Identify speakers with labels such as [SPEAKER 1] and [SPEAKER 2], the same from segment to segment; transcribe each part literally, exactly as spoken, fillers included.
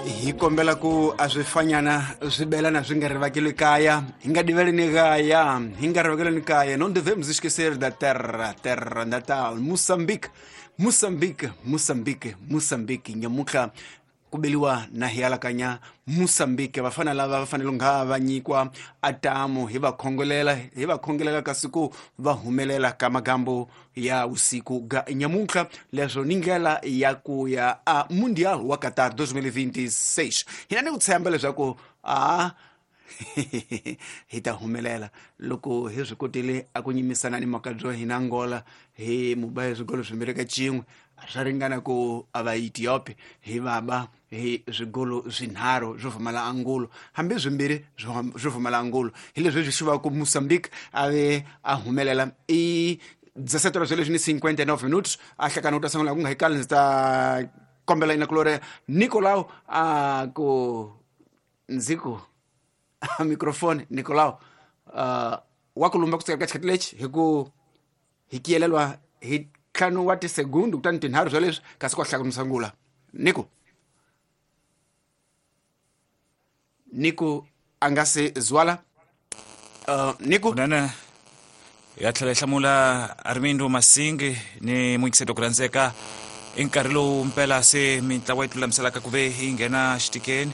[SPEAKER 1] Hi kombela ku a swi fanyana swi belana swi nga rivakeli kaya, hi nga diveleni kaya, hi nga rivakeleni kaya. Não devemos esquecer da terra, terra natal, Moçambique, Moçambique, Moçambique, Moçambique. Nyamutlha ku beliwa na hi alakanya Moçambique. Vafana lava va fanele nga va nyikiwa atamu, hi va khongolela, hi va khongelela kasi ku va humelela ka magambo ya usiku ga nyamutlha. Leswo ni ndlela ya ku ya a Mundial wa Qatar dois mil e vinte e seis. Hina ni ku tshemba leswaku a hi ta humelela loko hi swi kotile a ku nyimisana ni makabyo hina Angola hi mubaye swigolo swimbirhi ka cin'we, swa ringana ku a va Ethiopia hi vaba hi swigolo swinharhu swo pfumala angulo, hambi swimbirhi swo pfumala angulo. Hi leswi swi xivaka ku Mozambique a ve a humelela i dezessete horas e cinquenta e nove minutos. A hlakana u ta sungula ku nga hi kali ndzi ta kombela ina kulore Nicolau a ku ndzi ku microfone Nicolau uh, wa ku lumba ku tsaka ka xikhathi lexi hi ku hi kiyelelwa hi ntlhanu wa tisegundu kutani tinharhu swa leswi kasi ku hlaka sungula. Nico Nico a nga se zwala uh, Nico
[SPEAKER 2] kunene ya tlhela yi hlamula Armindo Masingi ni muyingiseti ku rhandzeka. I nkarhi lowu mpela se mintlawa yi tilulamiselaka ku ve yi nghena xitikeni,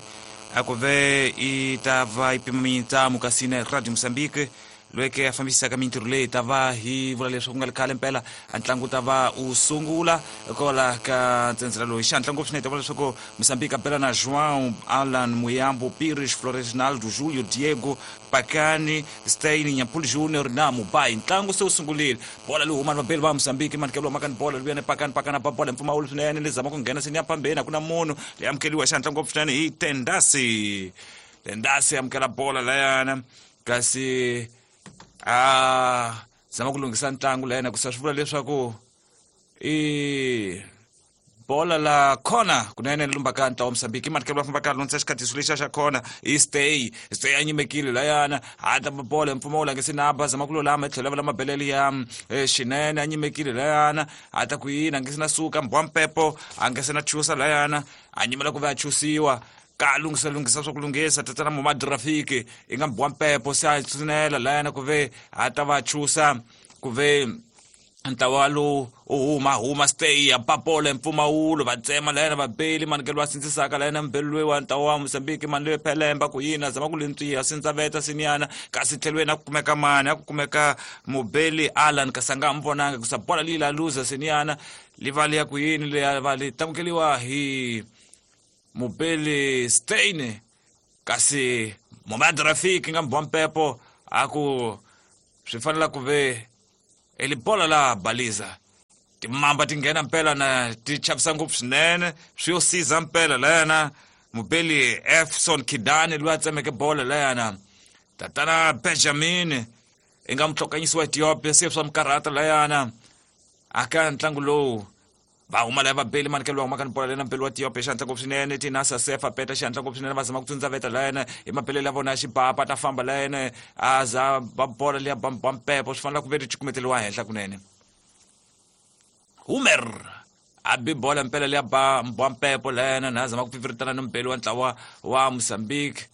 [SPEAKER 2] a ku ve yi ta va yi pima mintamu kasi na Radio Mozambique loyi a fambisaka mintirho leyi ta va hi vula leswaku ku nga ri khale mpela a ntlangu ta va u sungula kwala ka ntsendzela loyi. Xihatla ngopfu swinene ta vula leswaku Mozambique a bela na João Alan Muyambo, Pires, Floresnaldo, Julio, Diego, Pakani, Stein, Nyampuli Junior na Mubai. Ntlangu se wu sungurile, bola leyi humani vabeli va Mozambique manikelo makani bola luya ni Pakani, Pakani ba bola mpfumawulo swinene leyi zama ku nghena seni ya phambeni, a ku na munhu leyi amukeriwa xihatla ngopfu swinene hi Tendasi. Tendasi amukela bola layana kasi a zama ku lunghisa ntlangu la yena ku sa swi vula leswaku i bola la khona kunene lumba ka ntlawa Mozambique. Manikelo va famba ka lunghisa xikhatiso lexiya xa khona i stay stay a nyimekile layana a ta bola mpfumawulo a nge se na ba zama ku lulama tlhela va la mabelele ya xinene a nyimekile layana a ta ku yini a nge se na suka mbwa mpepo a nge se na chusa layana a nyimela ku va a chusiwa ka lunghisa lunghisa swa ku lunghisa tatana Momad Rafiki i nga mbwa mpepo se a tsunela layana ku ve a ta va chusa ku ve ntlawa lowu u huma huma stay ya papola mpfumawulo va tsema layana vabeli manikelo va sindzisaka layana mbeli loyi wa ntlawa wa Mozambique mani loyi phelemba ku yini a zama ku lintswiya sindzaveta siniyana kasi tlhelweni a ku kumeka mani a ku kumeka mubeli Alan kasi a nga mi vonanga ku sa bola leyi la luza siniyana li va liya ku yini leya va li tamukeliwa hi mubeli Stein kasi Momad Rafiki nga mbwa mpepo a ku swi fanela ku ve eli bola la baliza timamba ti nghena mpela na ti chavisa ngopfu swinene swi yo siza mpela layana mubeli Efson Kidani loyi a tsemeke bola layana tatana Benjamin i nga mutlhokanyisi wa Ethiopia se swa mikarhata layana aka ntlangu lowu va huma laya vabeli manikelo va humaka ni bola lena mbeli wa Ethiopia xihatla ngopfu swinene tinasa sefa peta xihatla ngopfu swinene va zama ku tsundzaveta layena hi mabelele ya vona ya xibapa ta famba layena a za ba bola liya ba mpepo swi fanele ku ve ri cukumeteliwa henhla kunene. Humer a bi bola mpela liya ba mbwa mpepo layena na zama ku pfipfiritana ni mbeli wa ntlawa wa Mozambique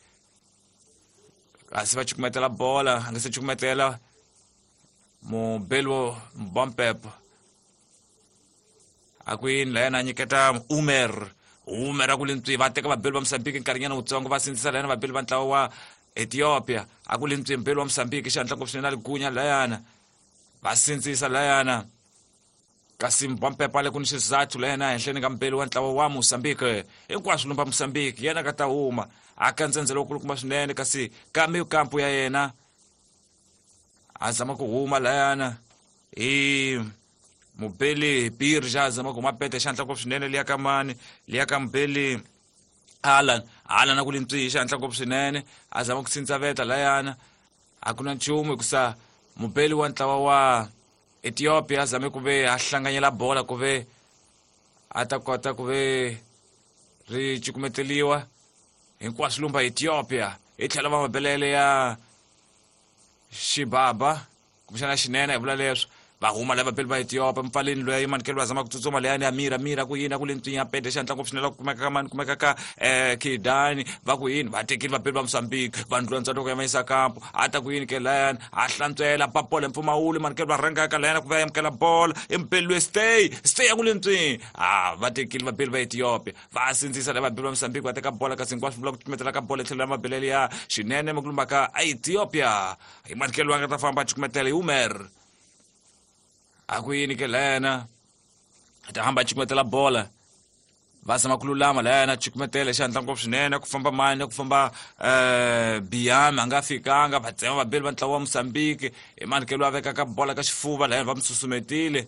[SPEAKER 2] kasi va cukumetela bola a nga se cukumetela mubeli wa mbwa mpepo a ku yini layena a nyiketa Umer Umer a ku lintswi va teka vabeli va Mozambique nkarhinyana wutsongo va sindzisa layena vabeli va ntlawa wa Ethiopia a ku lintswi mbeli wa Mozambique xihatla ngopfu swinene a li gunya layana va sindzisa layana kasi mbwa mpepo a le ku ni xizathu layena ehenhleni ka mbeli wa ntlawa wa Mozambique hinkwaswo lumba Mozambique yena ka ta huma a ka ntsendzelo wukulukumba swinene kasi ka mikampu ya yena a zama ku huma layana hi mubeli Birja zama ku mapete xihatla ngopfu swinene liya ka mani liya ka mubeli Alan Alan a ku lintswi xihatla ngopfu swinene a zama ku sindzaveta layana a ku na nchumu hikusa mubeli wa ntlawa wa Ethiopia a zame ku ve a hlanganyela bola ku ve a ta kota ku ve ri cukumeteliwa hinkwaswo lumba Ethiopia hi tlhela va mabelele ya xibaba kumbexana xinene hi vula leswo Va huma lava vabeli va Ethiopia mpfaleni loyi manikelo wa zama ku tsutsuma leyani ya mira mira ku yini ku le ntswinya pete xihatla ngopfu swinene la ku kumeka ka mani kumeka ka eh Kidani va ku yini va tekile vabeli va Mozambique va ndlula ntsatoko ya mayisa kampo a ta ku yini ke layani a hlantswela papola mpfumawulo manikelo va rhanga ka layani ku va amukela bola impelwe stay stay ya ku le ntswinya a va tekile vabeli va Ethiopia va sindzisa lava vabeli va Mozambique va teka bola kasi hinkwaswo vula ku cukumetela ka bola tlhelo la mabelele ya xinene makulumba ka Ethiopia hi manikelo wa nga ta famba a cukumetela hi Umer a ku yini ke lena a ta hamba a cukumetela bola va zama ku lulama layana cukumetela xihatla ngopfu swinene ku famba mani ku famba um Biami a nga fikanga va tsema vabeli va ntlawa wa Mozambique hi manikelo a vekaka bola ka xifuva layana va mi susumetile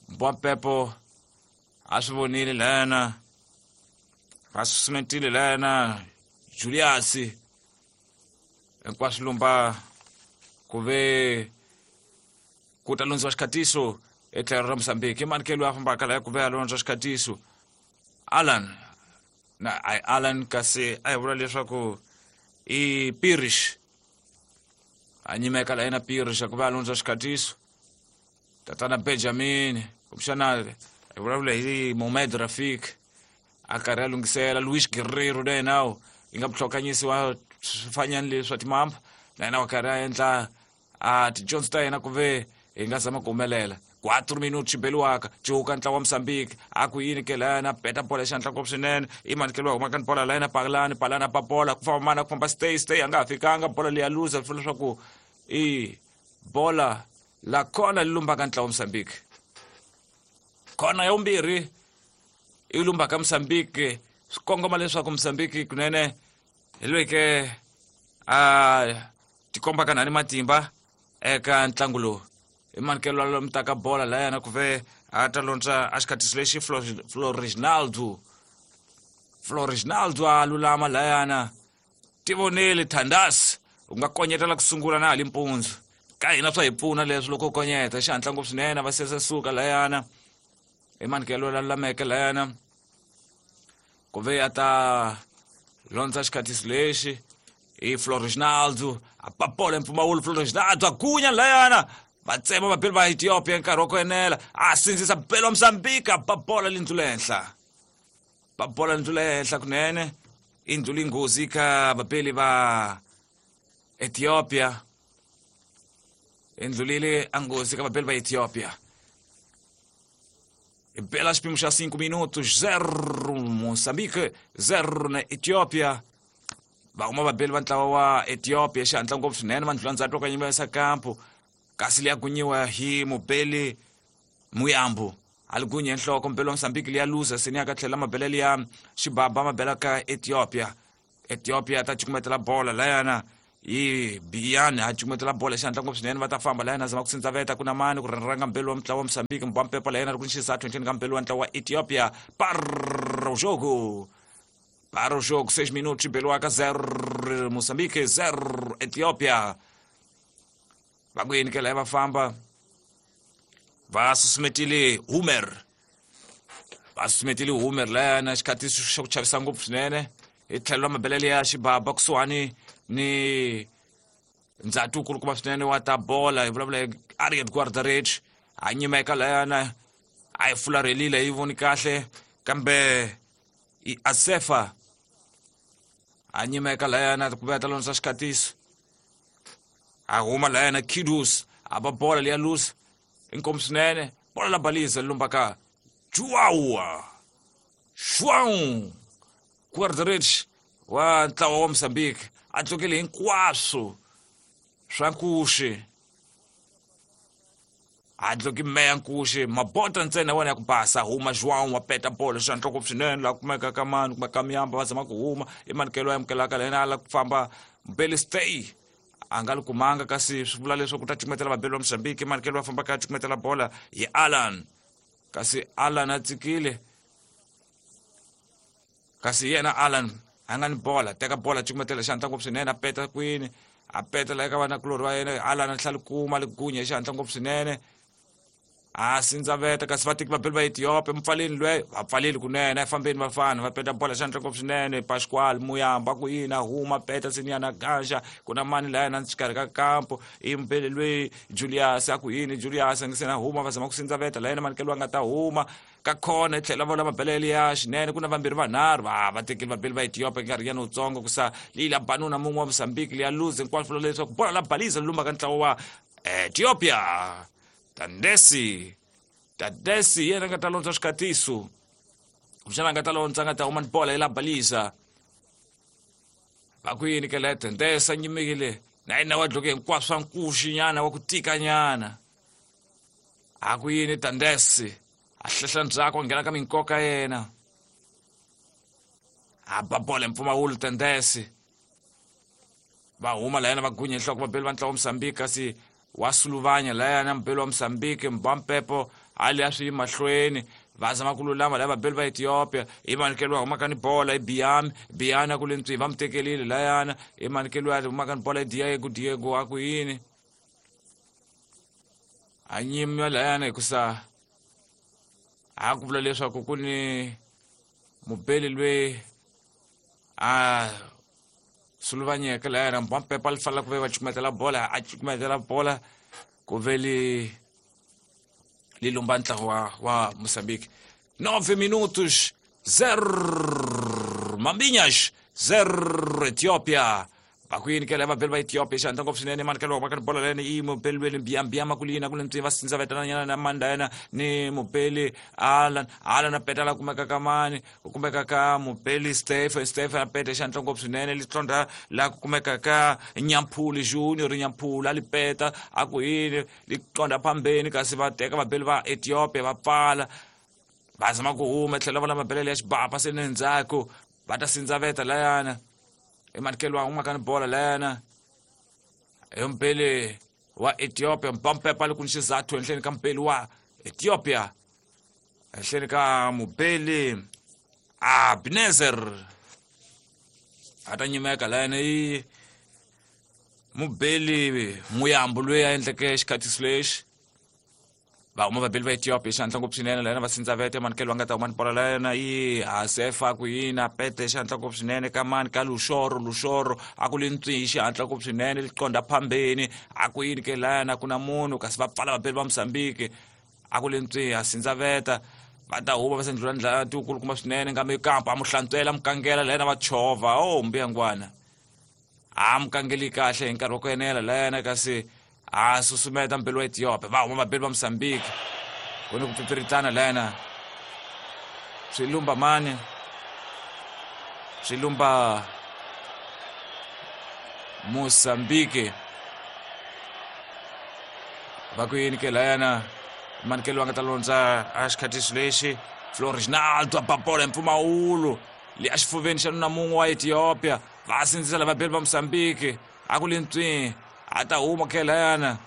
[SPEAKER 2] Mbwampepo a swi vonile layana va susumetile layana Julius hinkwaswo lumba ku ve ku ta londziwa xikhatiso etlhelo ra Mozambique i manikelo a fambaka laya ku ve a londzwa xikhatiso Alan na ai Alan kasi a hi vula leswaku i Pirish a nyimeka la yena Pirish ku ve a londzwa xikhatiso tatana Benjamin kumbexana hi vulavula hi Mohamed Rafik a karhi a lunghisela Luis Guerrero na yena yi nga muhlokanyisi wa swifanyani leswi swa timamba na yena wa karhi a endla a tidyondzo ta yena ku ve hi nga zama ku humelela quatro minutos xibeliwaka cuka ntlawa wa Mozambique a ku yini ke layana peta bola xihatla ngopfu swinene i manikelo wa humaka ni bola layana palani palani pa bola ku famba mana ku famba stay stay a nga ha fikanga bola leyi ya luza swi leswaku i bola la kona li lumbaka ntlawa wa Mozambique kona ya vumbirhi i lumbaka Mozambique swi kongoma leswaku Mozambique kunene hi loyi ke a tikombaka nani matimba eka ntlangu lowu i manikelo lomu taka bola layana ku ve a ta lontswa a xikhatiso lexi Floreginaldo Floreginaldo a lulama layana tivoneli Thandas u nga konyetela ku sungula na hali mpundzu ka hina swa hi pfuna leswi loko u konyeta xihatla ngopfu swinene va sesa suka layana i manikelo la lulameke layana ku ve a ta londza xikhatiso lexi i Floreginaldo a papola mpfumawulo Floreginaldo a gunya layana va tsema vabeli va Ethiopia nkarhi wa ku enela a sindzisa beli wa Mozambique a papola lindlu le henhla papola lindlu le henhla kunene i ndlu linghozi ka vabeli va Ethiopia i ndlulile a nghozi ka vabeli va Ethiopia i bela xipimo xa cinco minutos zero Mozambique zero na Ethiopia va huma vabeli va ntlawa wa Ethiopia xihatla ngopfu swinene va ndlula ndzhaku ka nyimba ya kampo kasi liya gunyiwa hi mubeli Muyambo a li gunye nhloko mubeli wa Mozambique liya luza seni ya ka tlhela mabelele ya xibaba mabela ka Ethiopia Ethiopia ta cukumetela bola layana i Biani a cukumetela bola xihatla ngopfu swinene va ta famba layana zama ku sindzaveta ku na mani ku rhanga mbeli wa mutlawa wa Mozambique Mbwampepo layana ri ku ni xisathu henhleni ka mbeli wa ntlawa wa Ethiopia para o jogo para o jogo seis minutos xibeliwaka zero Mozambique zero Ethiopia va ku yini ke laya va famba va susumetile Humer va susumetile Humer layana xikhatiso xa ku chavisa ngopfu swinene hi tlhelo ra mabelele ya xibaba kusuhani ni ndzhati wukulukumba swinene wa ta bola hi vulavula hi Ariel Guardarech a nyimeka layana a yi fularhelile yi voni kahle kambe i Asefa a nyimeka layana ku ve ta londzisa xikhatiso a huma layana Kidus a ba bola leya luza inkomu swinene bola la baliza lumbaka Joao João Guardarech wa ntlawa wa Mozambique a tlokele hinkwaswo swa nkuxi a dloki meya nkuxi mabota ntsena wena ya ku basa huma João wa peta bola xihatla ngopfu swinene laha kumeka ka mani kumeka ka Muyamba va zama ku huma i manikelo ya amukelaka layena a la ku famba Mbeli stay a nga li kumanga kasi swi vula leswaku ta cukumetela vabeli va Mozambique manikelo va fambaka a cukumetela bola hi Alan kasi Alan a tsikile kasi yena Alan a nga ni bola teka bola cukumetela xihatla ngopfu swinene a peta kwini a peta la eka vanakulorhi va yena Alan a tlhela kuma li gunya xihatla ngopfu swinene A sindzaveta kasi vatiki va beli va Ethiopia mpfaleni lwe va pfaleli kunene efambeni vafana va peta bola xandla ngopfu swinene Pascual Muyamba ku yini a huma peta sinyana ganja ku na mani laya na xikarhi ka kampo i mbele lwe Julius a ku yini Julius a nge se na huma va zama ku sindzaveta la yena manikelo a nga ta huma ka khona tlhela va lama belele ya xinene ku na vambirhi vanharhu va va tekeli vabeli va Ethiopia nkarhi yana wutsongo ku sa leyi la banuna mun'we wa Mozambique leya luze hinkwaswo leswaku bola la balisa lumba ka ntlawa wa Ethiopia. Tandesi Tandesi yena nga ta londza xikatiso kumbexana nga ta londza nga ta huma ni bola yi la balisa va ku yini ke la Tandesi a nyimekile na yena wa dloke hinkwaswo swa nkuxi nyana wa ku tika nyana a ku yini Tandesi a hlehla ndzhaku a nghena ka minkoka yena a ba bola hi mpfumawulo Tandesi va huma la yena va gunya nhloko va beli va ntlawa wa Mozambique kasi wa suluvanya layana mbeli wa Mozambique Mbampepo ali a swi mahlweni va zama ku lulama lava beli va Ethiopia i manikelo humaka ni bola i Biami Biana ku le ntswi va mutekelile layana i manikelo ya humaka ni bola i Diego Diego a ku yini a nyima layana hikusa a ku vula leswaku ku ni mubeli lwe a suluvanyeke layana Mbampepo a li fanela ku ve va cukumetela bola a cukumetela bola ku ve li li lumba ntlawa wa, wa Mozambique. Nove minutos, zero Mambinhas, zero Ethiopia. Va ku yini ke lava beli va Ethiopia xandla ngopfu swinene manikelo wa ka bola lena i mubeli lweni Biambiama ku lina ku le ntswi va sindzavetana nyana na manda yena ni mubeli Alan Alan a peta la kumeka ka mani ku kumeka ka mubeli Stephen Stephen a peta xandla ngopfu swinene li tlondra la ku kumeka ka Nyampuli Junior Nyampuli a li peta a ku yini li tlondra phambeni kasi va teka vabeli va Ethiopia va pfala va zama ku huma tlhela va lama belele ya xibapa se ni ndzhaku va ta sindzaveta layana emanikelo wa humaka ni bola layana hi mpele wa Ethiopia Mbampepo a li ku ni xizathu henhleni ka mpeli wa Ethiopia henhleni ka mubeli Abnezer a ta nyimeka layana i mubeli Muyambo loyi a endleke xikhatiso lexi va huma vabeli va Ethiopia xandla ngopfu swinene layena va sindzavete manikelo va nga ta huma ni bola layena i Hasefa ku yini a pete xandla ngopfu swinene ka mani ka Luxoro Luxoro a ku le ntswi xihatla ngopfu swinene li qonda phambeni a ku yini ke layana ku na munhu kasi va pfala vabeli va Mozambique a ku le ntswi a sindzaveta va ta huma va sendlula ndlela tikulukumba swinene nga mikampa a mu hlantswela mukangela layena va chovha o mbuyangwana a mukangeli kahle hi nkarhi wa ku enela layena kasi a susumeta mpelo wa Ethiopia va huma vabeli va Mozambique ku ni ku pfipfiritana layena swi lumba mani swi lumba Mozambique va ku yini ke layana manikelo va nga ta londza a xikhatiso lexi Florinaldo a ba bola hi mpfumawulo le a xifuveni xa nuna mun'we wa Ethiopia va sindzisa lava beli va Mozambique a ku le ntswi a ta huma ke layana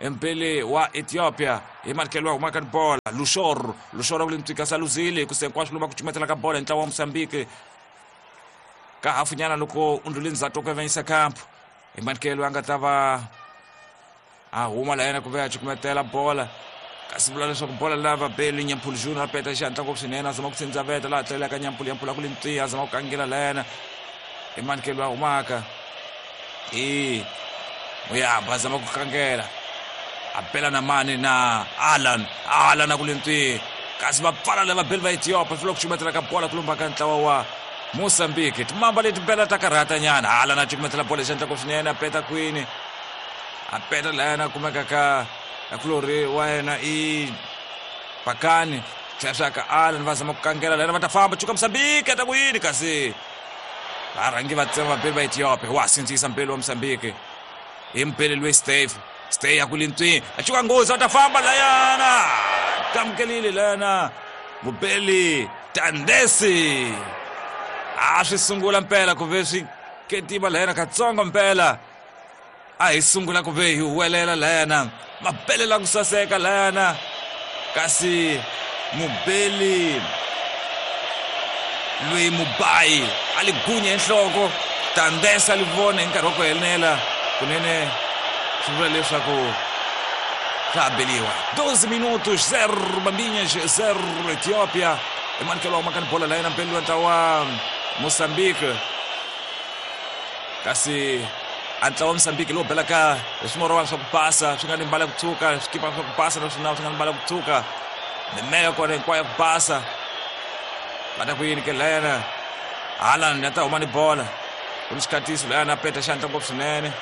[SPEAKER 2] mpele wa Ethiopia hi manikelo wa humaka ni bola Luxoro Luxoro ku le ntswi kasi a luzile hikusa hinkwaswo luma ku cumetela ka bola hi ntlawa wa Mozambique ka hafunyana loko u ndlule ndzhaku ku avanyisa kampo hi manikelo a nga ta va a huma layana ku ve a cukumetela bola kasi vula leswaku bola lava beli Nyampuli Junior a peta xihatla ngopfu swinene a zama ku sindzaveta laha tlelaka Nyampuli Nyampuli a ku le ntswi a zama ku kangela layana hi manikelo a humaka i Muyamba a zama ku kangela a bela na mani na Alan Alan a ku le ntswi kasi va pfala lava beli va Ethiopia fika ku cukumetela ka bola ku lumba ka ntlawa wa Mozambique timamba leti bela ta karhata nyana Alan a cukumetela bola xandla ngopfu swinene a peta kwini a peta layana a kumeka ka akulori wa yena i Pakani tlhela ka Alan va zama ku kangela layana va ta famba cuka Mozambique ta ku yini kasi varhangi va tsema vabeli va Ethiopia wa sindzisa mbeli wa Mozambique hi mpele loyi Steve Steve a ku le ntswini a cuka nghozi va ta famba layana kamukelile layana mubeli Tandesi a swi sungula mpela ku ve swi ketima layana katsongo mpela a hi sungula ku ve hi huwelela layana mabelela ku saseka layana kasi mubeli loyi Mubayi a li gunya enhloko Tandesi a li vona hi nkarhi wa ku enela kunene swi vula leswaku Swa beliwa doze minutos zero Bambinhas zero Etiópia. Emanuel wa makani bola la yena mpeli wa ntlawa wa Moçambique kasi a ntlawa wa Moçambique lowu belaka hi swimorwana swa ku basa swi nga ni mbala ku tshuka swikipa swa ku basa naswona swi nga ni mbala ku tshuka mimeya kona hinkwayo ya ku basa va ta ku yini ke lena Haaland ya ta huma ni bola ku ni xikhatiso lana peta xandla ngopfu swinene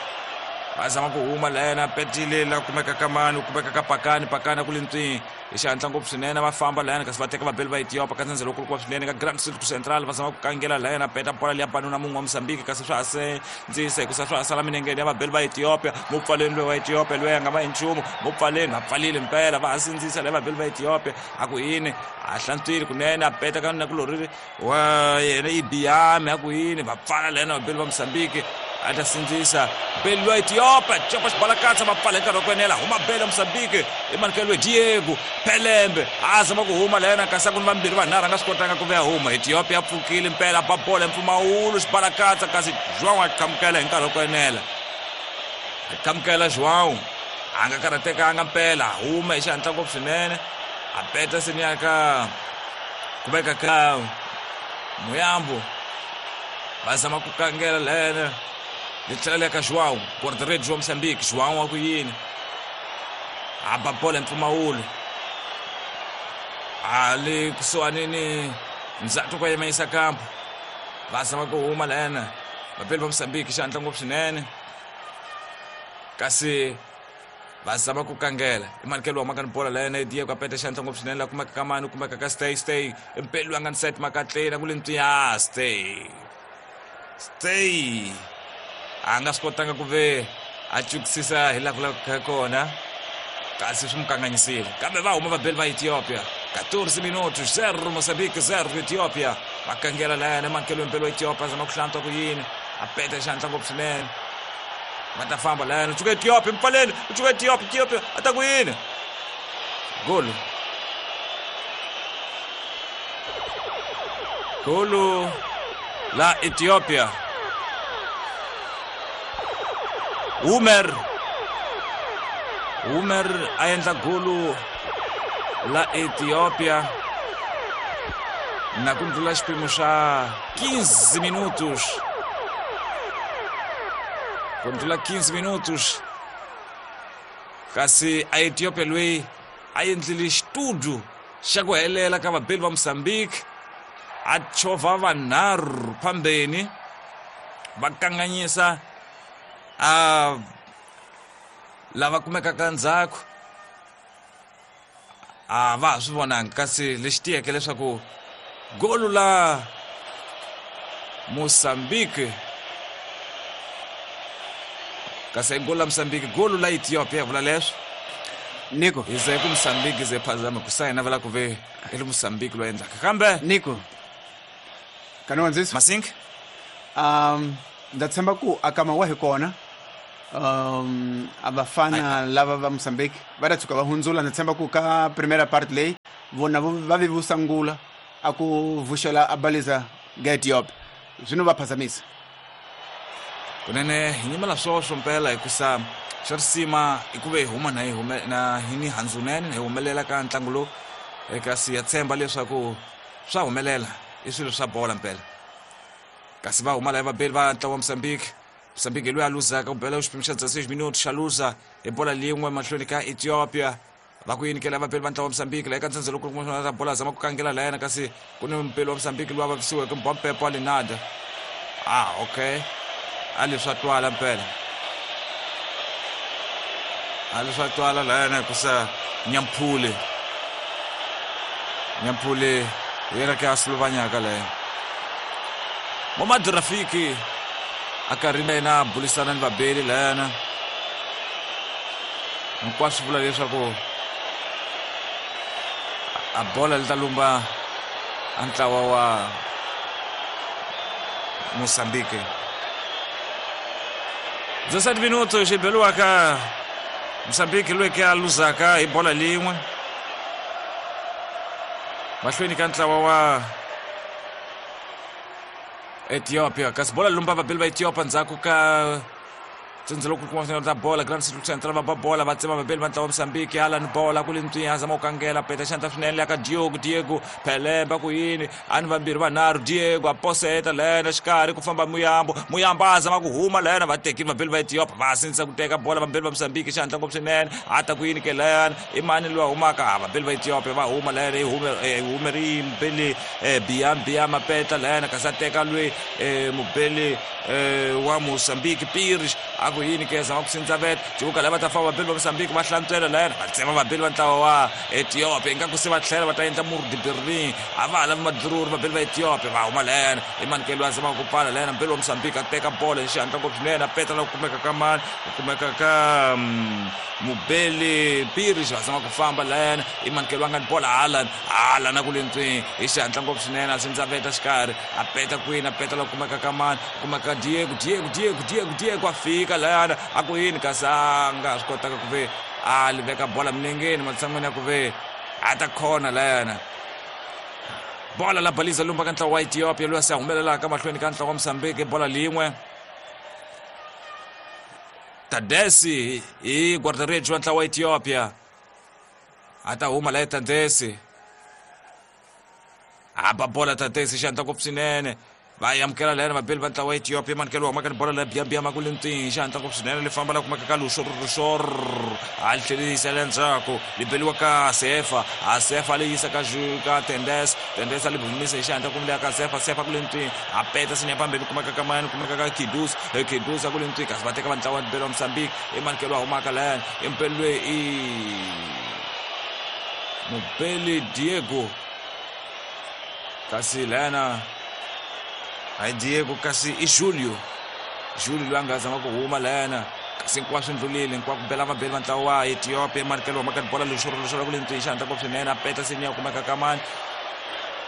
[SPEAKER 2] va zama ku huma lena petile la kumeka ka mani kumeka ka pakani pakani ku le ntswini hi xihatla ngopfu swinene va famba layani kasi va teka vabeli va Ethiopia ka ndzhendzelo kulukumba swinene ka Grand Cirque Central va zama ku kangela layani peta bola liya banuna mun'we wa Mozambique kasi swa ha sindzisa hikusa swa ha sala minengeni ya vabeli va Ethiopia mupfaleni loyi wa Ethiopia loyi a nga va hi nchumu mupfaleni va pfalile mpela va ha sindzisa leyi vabeli va Ethiopia a ku yini a hlantswile kunene a peta ka nakulorhi wa yena Ibiame a ku yini va pfala layani vabeli va Mozambique a ta sindzisa beli wa Ethiopia copa xibalakatsa va pfala hi nkarhi wa ku enela huma beli ya Mozambique Emmanuel Diego Pelembe a zama ku huma layena kasi ku ni vambirhi vanharhu a nga swi kotanga ku vuya huma Ethiopia pfukile mpela ba bola hi mpfumawulo xibalakatsa kasi João a qhamukela hi nkarhi wa ku enela a qhamukela João a nga karhatekanga mpela a huma hi xihatla ngopfu swinene a peta seni ya ka kumeka ka Muyambo va zama ku kangela layena li tlhela le ka João guarda-redes wa Moçambique João wa ku yini a ba bola hi mpfumawulo a le kusuhani ni ndzhaku ka yima kampo va zama ku huma lena vapeli va Moçambique xihatla ngopfu swinene kasi va zama ku kangela Emmanuel wa makani bola lena Diego a peta xihatla ngopfu swinene la kumeka ka mani kumeka ka stay stay mpeli wa nga ni set makatleni ku le ntswiya stay stay a nga swi kotanga ku ve a cukisisa hi laha ku lavekaka kona kasi swi mu kanganyisile kambe va huma vabeli va Ethiopia quatorze minutos zero Moçambique zero Ethiopia va kangela layani emakelweni mpeli wa Ethiopia zama ku hlantswa ku yini a peta xihatla ngopfu swinene va ta famba layani u cuka Ethiopia mpfaleni u cuka Ethiopia Ethiopia a ta ku yini golo golo la Ethiopia Umer Umer a endla golo la Ethiopia na ku ndlula xipimo xa quinze minutos ku ndlula quinze minutos kasi a Ethiopia loyi a endlile xitudu xa ku helela ka vabeli va Mozambique a chovha vanharhu phambeni va kanganyisa a lava kumekaka ndzhaku a va ha swi vonanga kasi lexi tiyeke leswaku golo la Mozambique kasi i golo la Mozambique golo la Ethiopia vula leswo
[SPEAKER 1] Nico
[SPEAKER 2] hi ze ku Mozambique ze phazama ku sayina vela ku ve i le Mozambique loyi endlaka kambe
[SPEAKER 1] Nico kanowandzisa
[SPEAKER 2] Masink
[SPEAKER 1] um ndza tshemba ku akama wa hi kona um a vafana lava va Mozambique va ta tshuka va hundzula ndza tshemba ku ka primera part leyi vona va vi vusangula a ku vuxela a baliza ga Ethiopia zwino va phazamisa
[SPEAKER 2] kunene hi nyimela swoswo mpela hikusa xa risima i ku ve hi huma na hi hume na hi ni handzunene hi humelela ka ntlangu lowu kasi ya tshemba leswaku swa humelela i swilo swa bola mpela kasi va huma laya vabeli va ntlawa wa Mozambique Mozambique loyi a luzaka ku bela xipimo xa dezesseis minutos xa luza hi bola lin'we mahlweni ka Ethiopia va ku yinikela vabeli va ntlawa wa Mozambique laha eka ndzhendzelo loko ta bola zama ku kangela layena kasi ku ni mpeli wa Mozambique loyi a vavisiweke Mbompepo wa Linada ah okay a leswi a twala mpela a leswi a twala layena hikusa Nyamphule Nyamphule hi yena ke a suluvanyaka layena Momad Rafiki a karhi na yena a bulisana ni vabeli layana hinkwaswo vula leswaku a bola li ta lumba a ntlawa wa Mozambique dezessete minutos xi beliwaka Mozambique loyi ke a luzaka hi bola lin'we mahlweni ka ntlawa wa Ethiopia kasi bola lumba vabeli va Ethiopia ndzhaku ka Tsindzelo ku kuma ta bola Grand City Central va ba bola va tsema vabeli va ntlawa wa Mozambique Alan bola ku le a zama ku kangela peta xandla swinene le ka Diogo Diego Pelemba ku yini ani vambirhi vanharhu Diego a poseta lena xikarhi ku famba Muyambo Muyambo a zama ku huma lena va tekile vabeli va Ethiopia va sindzisa ku teka bola vabeli va Mozambique xandla ngopfu swinene a ta ku yini ke lena i mani loyi a humaka vabeli va Ethiopia va huma lena i hume humeri mubeli Biam Biam a peta lena kasi a teka loyi mubeli wa Mozambique Pires a ku yini ke zama ku sindza vet jivuka lava ta famba vabeli va Mozambique va hlantswela lena va tsema vabeli va ntlawa wa Ethiopia ingaku se va tlhela va ta endla murdi Berlin a va ha lavi madururi vabeli va Ethiopia va huma lena i manikelo a zama ku pfala lena mubeli wa Mozambique a teka bola hi xihatla ngopfu swinene a peta la ku kumeka ka mani ku kumeka ka mubeli Pires va zama ku famba lena i manikelo a nga ni bola Alan Alan a ku le ntswini hi xihatla ngopfu swinene a sindza veta xikarhi a peta kwini a peta la ku kumeka ka mani ku kumeka ka Diego Diego Diego Diego Diego a fika lana a ku yini kasi a nga swi kotaka ku ve a li veka bola milengeni matshan'wini ya ku ve a ta khona layana bola la baliza lumba ka ntlawa wa Ethiopia loyi a se a humelelaka mahlweni ka ntlawa wa Mozambique bola lin'we Tadesi hi guarda-redes wa ntlawa wa Ethiopia a ta huma laye Tadesi a ba bola Tadesi xandla ngopfu swinene va amukela lena vabeli va ntlawa wa Ethiopia manikelo wa humaka ni bola la Biam ku le ntini xihatla ngopfu swinene li famba la kumeka ka Lushor Lushor a li tlhelerisa le ndzhaku li beliwa ka Sefa a Sefa li yisa ka ka Tendes Tendes a li humisa hi xihatla kumbe ka Sefa Sefa ku le ntini a peta sinya phambili kumeka ka mani kumeka ka Kidus Kidus a ku le ntini kasi va teka va ntlawa wa beli wa Mozambique i manikelo wa humaka lena i mpeli loyi i mubeli Diego kasi lena hayi Diego kasi i Julio Julio loyi a nga zama ku huma lena kasi hinkwaswo ndlulile hinkwako bela vabeli va ntlawa wa Ethiopia manikelo wa maka bola lexoro lexoro ku le ntini xihatla ngopfu swinene a peta seniya kumeka ka mani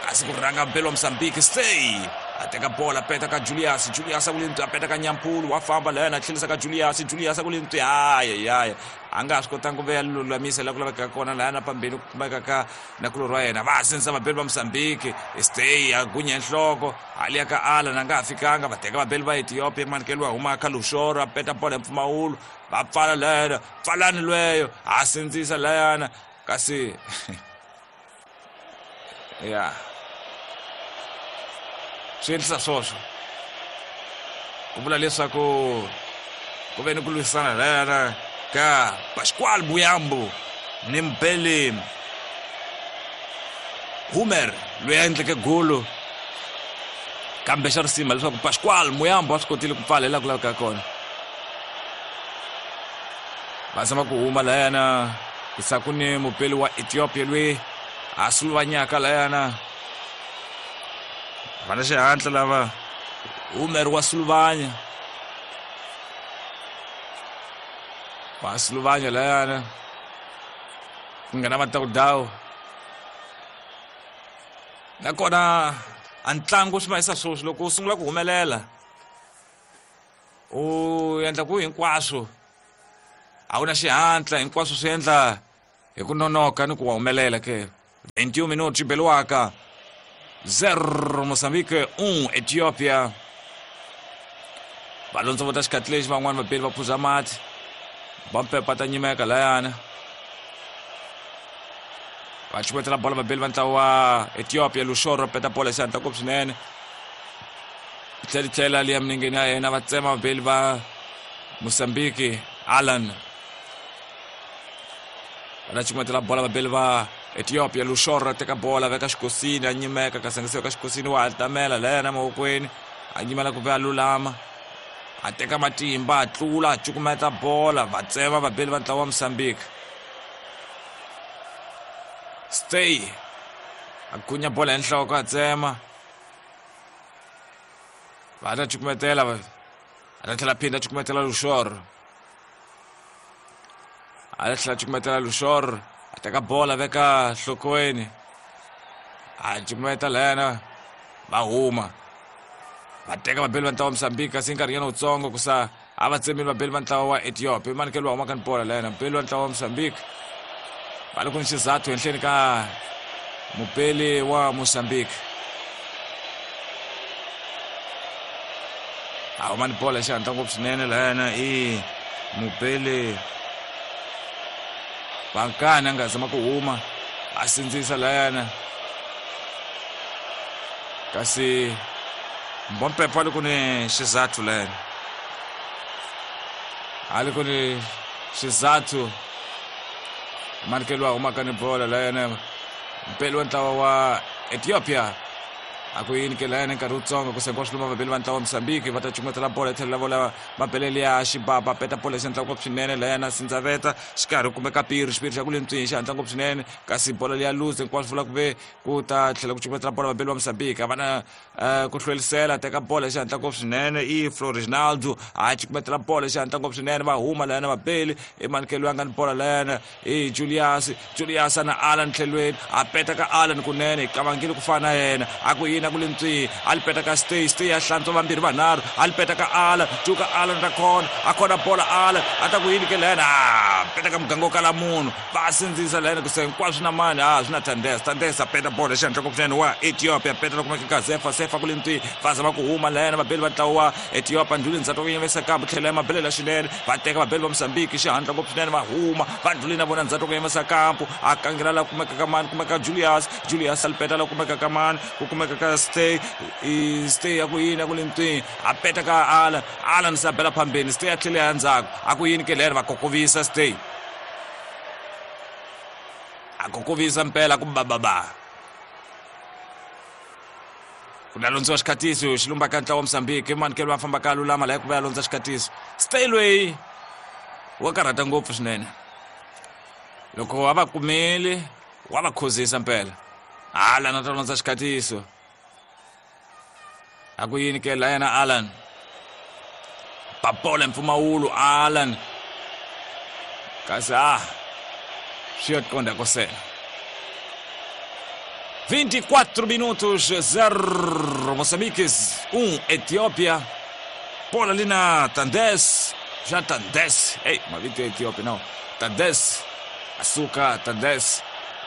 [SPEAKER 2] kasi ku rhanga mbeli wa Mozambique stay a teka bola peta ka Julius Julius a ku le ntini a peta ka Nyampulu wa famba lena a tlhelisa ka Julius Julius a ku le ntini hayi hayi a nga ha swi kotanga ku ve ya lulamisa laha ku lavekaka kona lahaya na pambeni ku kumeka ka nakulorhi wa yena va sindzisa vabeli va Mozambique stay a gunya nhloko hali ya ka Alan a nga ha fikanga va teka vabeli va Ethiopia manikelo wa huma ka Lushoro a peta bola hi mpfumawulo va pfala lena pfalani lweyo a sindzisa layana kasi ya swi endlisa swoswo ku vula leswaku ku ve ni ku lwisana layana ka Pascual Muyambo ni Mbele Humer loyi a endleke golo kambe xa risima leswaku Pascual Muyambo a swi kotile ku pfala hi laha ku lavekaka kona va zama ku huma layana isaku ni mupeli wa Ethiopia loyi a suluvanyaka layana va na xihatla lava Humer wa suluvanya va suluvanya layana ku nghena vatawudawu nakona a ntlangu swi mahisa swoswi loko u sungula ku humelela u endla ku hinkwaswo a wu na xihatla hinkwaswo swi endla hi ku nonoka ni ku wa humelela ke vinte e um minutos beliwaka zero Mozambique um Ethiopia va londzovota xikhathi lexi van'wani vabeli va phuza mati va mpepa ta nyimeka layana va chumetela bola vabeli va ntlawa wa Ethiopia Lushoro peta bola hi xihatla ngopfu swinene tlhela tlhela liya milengeni ya yena va tsema vabeli va Mozambique Alan va ta chumetela bola vabeli va Ethiopia Lushoro teka bola veka xikosini a nyimeka kasi a nga se veka xikosini wa hatamela layana mavokweni a nyimela ku ve a lulama a teka matimba a tlula a cukumeta bola va tsema vabeli va ntlawa wa Mozambique stay a gunya bola hi nhloko a tsema va ta cukumetela a ta tlhela phinda a cukumetela Lushoro a ta tlhela cukumetela Lushoro a teka bola veka nhlokweni a cukumeta layana va huma va teka vabeli va ntlawa wa Mozambique kasi nkarhinyana wutsongo ku sa a va tsemile vabeli va ntlawa wa Ethiopia manikelo wa humaka ni bola layana mubeli wa ntlawa wa Mozambique va le ku ni xizathu henhleni ka mubeli wa Mozambique A huma ni bola xihatla ngopfu swinene lahayana i mubeli Bankani a nga zama ku huma a sindzisa lahayana kasi Mbompepo a li ku ni xizathu lahayana a li ku ni xizathu manikelo a humaka ni bola lahayana mpeli wa ntlawa wa Ethiopia a ku yini ke lahayana nkarhi wutsongo ku sengiwa swiluma vabeli va ntlawa wa Mozambique va ta cukumetela bola tlhelo la vola mabelele ya xibaba peta bola xihatla ngopfu swinene lahayana sindzaveta xikarhi kumeka piri xipiri xa ku le ntswini xihatla ngopfu swinene kasi bola liya luze hinkwaswo vula ku ve ku ta tlhela ku cukumetela bola vabeli va Mozambique a va na ku hlwelisela teka bola xihatla ngopfu swinene i Florinaldo a cukumetela bola xihatla ngopfu swinene va huma lahayana vabeli i manikelo ya nga ni bola lahayana i Julius Julius na Alan tlhelweni a peta ka Alan kunene hi kavangile ku fana na yena a ku yini ku le ntswini a li peta ka stay stay a hlantswa vambirhi vanharhu a li peta ka Alan cuka Alan ta khona a khona bola Alan a ta ku yini ke lahayana a peta ka muganga wo kala munhu va sindzisa lahayana ku se hinkwaswo na mani a swi na Tandes Tandes a peta bola xihatla ngopfu swinene wa Ethiopia peta la kumeka ka Zefa Sefa ku le ntswini va zama ku huma lahayana vabeli va ntlawa wa Ethiopia ndlhuli ndzhaku ku yimisa kambe tlhela ya mabelela swinene va teka vabeli va Mozambique xihatla ngopfu swinene va huma va ndlhuli na vona ndzhaku ku yimisa kampo a kangela la kumeka ka mani kumeka Julius Julius a li peta la kumeka ka mani ku kumeka ka stay i stay ya ku yini ya ku le ntswini a peta ka Alan Alan se a bela phambeni stay a tlhele ya ndzhaku a ku yini ke lero va kokovisa stay a kokovisa mpela ku bababa ku la londziwa xikhatiso xi lumba ka ntlawa wa Mozambique i manikelo va fambaka a lulama laha ku va ya londza xikhatiso stay loyi wa karhata ngopfu swinene loko a va kumeli wa va khuzisa mpela Alan a ta londza xikhatiso a ku yini ke la yena Alan papola mpfumawulo Alan kasi a swi ya qonda kosela vinte e quatro minutos zero Moçambique um Etiópia bola ali na Tandes já Tandes ei mavito ya Etiópia não Tandes asuka Tandes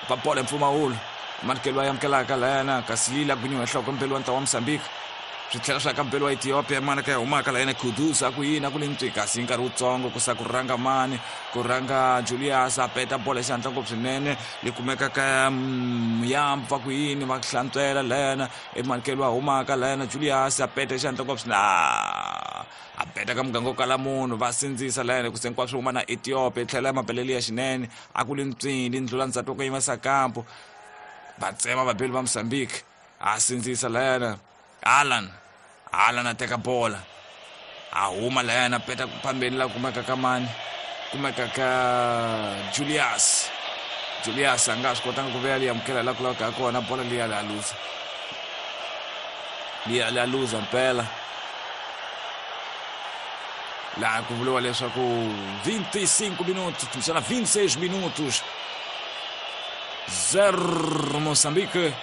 [SPEAKER 2] papola mpfumawulo manikelo a amukelaka lahayana kasi lila ku nyuha nhloko mpeli wa ntlawa wa Mozambique swi tlhela swa ka mpeli wa Ethiopia mana ka humaka lahayana Kudus a ku yini a ku le ntswi kasi hi nkarhi wutsongo ku sa ku rhanga mani ku rhanga Julius a peta bola xihatla ngopfu swinene li kumeka ka Muyampa ku yini va hlantswela lahayana i manikelo a humaka lahayana Julius a peta xihatla ngopfu swinene a peta ka muganga wo kala munhu va sindzisa lahayana ku se hinkwaswo huma na Ethiopia yi tlhela ya mabelele ya xinene a ku le ntswini ndlula ndzhaku ku yimisa kampo va tsema vabeli va Mozambique a sindzisa lahayana Alan Alan a teka bola a huma lahayana peta phambeni la kumeka ka mani kumeka ka Julius Julius a nga swi kotanga ku veya liya amukela la ku lavaka kona bola liya la luza liya la luza mpela laha ku vuriwa leswaku vinte e cinco minutos kumbexana vinte e seis minutos zero Moçambique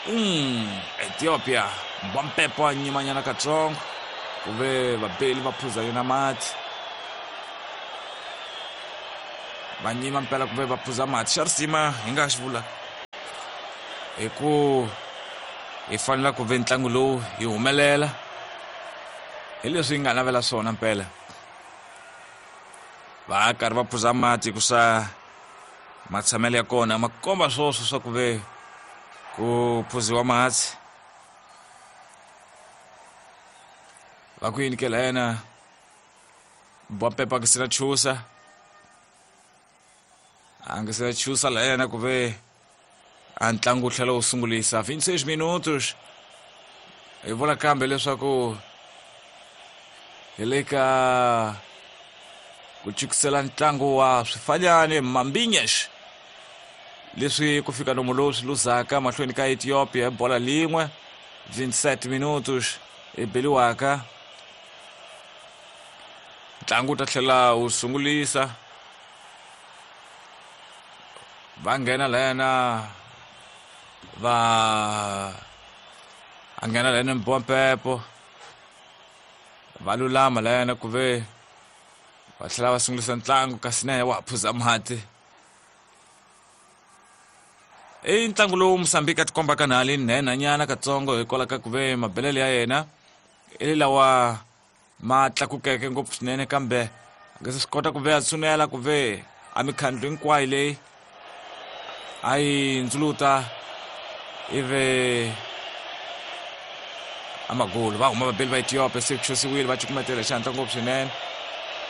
[SPEAKER 2] um Ethiopia Mbampepo a nyimanyana katsongo ku ve vabeli va phuza yena mati va nyima mpela ku ve va phuza mati xa risima hi nga xi vula hi ku hi fanela ku ve ntlangu lowu hi humelela hi leswi hi nga navela swona mpela va karhi va phuza mati ku sa matshamelo ya kona ma komba swoswo swa ku ve ku phuziwa mati va ku yini ke lahayana Mbampepo a nge se na chusa a nge se na chusa lahayana ku ve a ntlangu wu tlhela wu sungulisa vinte e seis minutos hi vula kambe leswaku hi le ka ku chukisela ntlangu wa swifanyani Mambinyesh leswi ku fika nomu lowu swi luzaka mahlweni ka Ethiopia bola lin'we vinte e sete minutos i beliwaka ntlangu wu ta tlhela wu sungulisa va nghena lahayana va a nghena lahayana Mbompepo va lulama lahayana ku ve va tlhela va sungulisa ntlangu kasi na yena wa ha phuza mati i ntlangu lowu Mozambique a tikombaka na hali nhenhanyana katsongo hikwalaho ka ku ve mabelele ya yena I lawa ma tlakukeke ngopfu swinene kambe a nga se swi kota ku ve a tshunela ku ve a mikhandlu hinkwayo leyi a yi ndzuluta ivi amagolo va huma vabeli va Ethiopia se ku xosiwile va cukumetela xihatla ngopfu swinene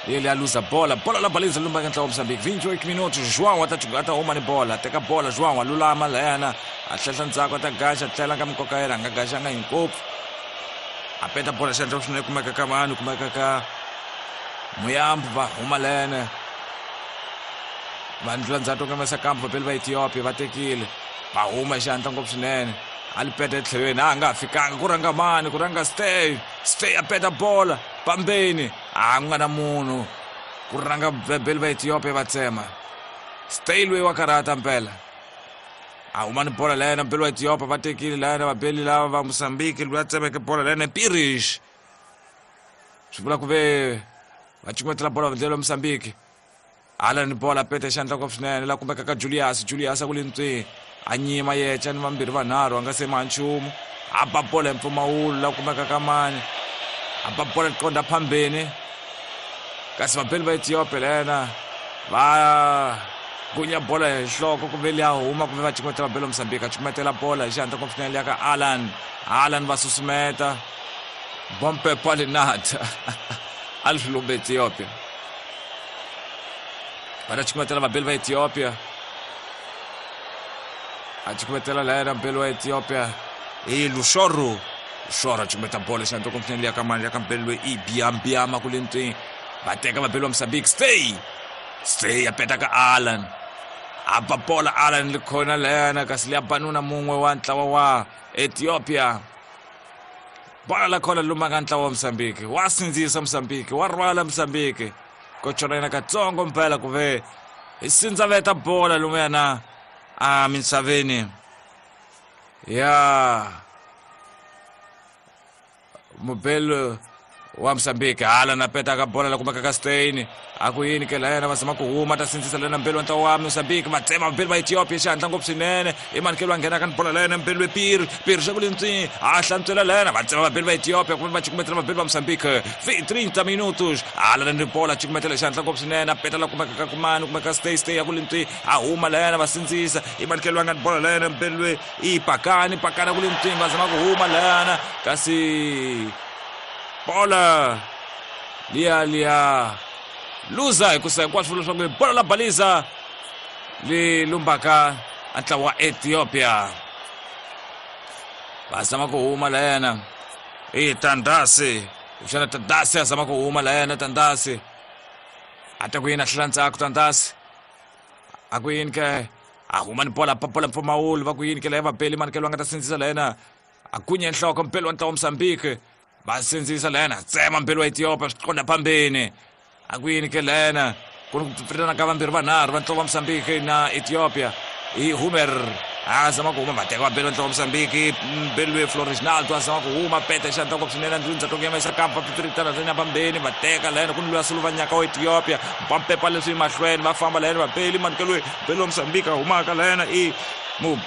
[SPEAKER 2] ele a luza bola bola la baliza lumba ka ntlawa wa Mozambique vinte e oito minutos. João a ta a ta huma ni bola teka bola João a lulama layana a tlhela ndzhaku a ta gaxa tlhela ka mikoka yena a nga gaxanga hinkopfu a peta bola xihatla swinene kumeka ka vanhu kumeka ka Muyambo va huma layana va ndlula ndzhaku ka masakambu vabeli va Ethiopia va tekile va huma xihatla ngopfu swinene a li peta etlhelweni a nga fikanga ku rhanga mani ku rhanga stay stay a peta bola pambeni a ku nga na munhu ku rhanga vabeli va Ethiopia va tsema stay loyi wa karhata mpela a huma ni bola layena mbeli wa Ethiopia va tekile layena vabeli lava va Mozambique loyi a tsemeke bola layena Pirish swi vula ku ve va cukumetela bola vandlelo wa Mozambique ala ni bola peta xandla ngopfu swinene la kumeka ka Julius Julius a ku le ntsweni a nyima yecha ni vambirhi vanharhu a nga se ma nchumu a ba bola hi mpfumawulo la kumeka ka mani a ba bola qonda phambeni kasi vabeli va Ethiopia lena va gunya bola hi nhloko ku ve liya huma kumbe va cukumetela vabeli va Mozambique a cukumetela bola hi xihatla ngopfu swinene liya ka Alan Alan va susumeta bompe palinata a li swi lumba Ethiopia va ta cukumetela vabeli va Ethiopia a cukumetela layena mbeli wa Ethiopia i Lushoro Lushoro a cukumeta bola xihatla ngopfu swinene liya ka mani liya ka mbeli loyi i Biambiama ku le ntsweni va teka vabeli va Mozambique stay stay a peta ka Alan a ba bola Alan li khona layena kasi liya banuna mun'we wa ntlawa wa Ethiopia bola la khona luma ka ntlawa wa Mozambique wa sindzisa Mozambique wa rhwala Mozambique ko chona yena katsongo mpela ku ve hi sindzaveta bola lumuyana a misaveni ya mubelo wa Mozambique hala na peta ka bola la kumeka ka Stein a ku yini ke layena va zama ku huma ta sindzisa lena mbeli wa ntlawa wa Mozambique va tsema vabeli va Ethiopia xihatla ngopfu swinene i manikelo a nghena ka ni bola layena mbeli we Piri Piri xa ku le ntswini a hlantswela layena va tsema vabeli va Ethiopia kumbe va cukumetela vabeli va Mozambique trinta minutos hala ni bola cukumetela xihatla ngopfu swinene a peta la kumeka ka kumani kumeka Stay Stay a ku le ntswini a huma layena va sindzisa i manikelo a nga ni bola layena mbeli we i Pakani Pakani a ku le ntswini va zama ku huma layena kasi bola liya liya luza hi ku sa hinkwaswo leswaku bola la baliza li lumbaka a ntlawa wa Ethiopia va zama ku huma layena i Tandasi xana Tandasi a zama ku huma layena Tandasi a ta ku yini a hlula ndzhaku Tandasi a ku yini ke a huma ni bola papola mpfumawulo va ku yini ke laya vabeli manikelo a nga ta sindzisa layena a gunya nhloko mpeli wa ntlawa wa Mozambique va sindzisa layena tsema mbeli wa Ethiopia swi qonda phambeni a ku yini ke layena ku ni ku pfilana ka vambirhi vanharhu va ntlawa wa Mozambique na Ethiopia i Humer a zama ku huma va teka vabeli va ntlawa wa Mozambique mbeli loyi Floresnaldo a zama ku huma peta xihatla ngopfu swinene ndzi ndzhaku ya kampa pfilitana tlenya phambeni va teka layena ku ni loyi a suluvanyaka wa Ethiopia va pepa leswi mahlweni va famba layena vabeli manikelo loyi mbeli wa Mozambique a humaka layena i mubeli